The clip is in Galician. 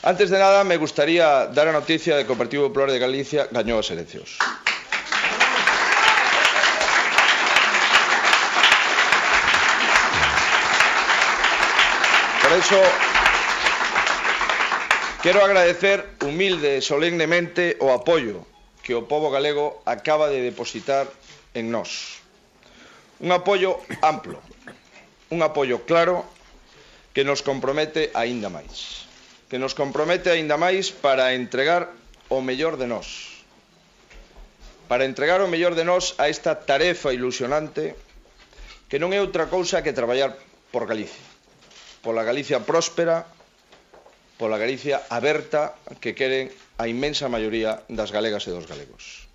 Antes de nada, me gustaría dar a noticia de que o Partido Popular de Galicia gañou as eleccións. Por eso, quero agradecer humilde e solemnemente o apoio que o pobo galego acaba de depositar en nós. Un apoio amplo, un apoio claro que nos compromete aínda máis. Que nos compromete aínda máis para entregar o mellor de nós. Para entregar o mellor de nós a esta tarefa ilusionante que non é outra cousa que traballar por Galicia. Pola Galicia próspera, pola Galicia aberta que queren a inmensa maioría das galegas e dos galegos.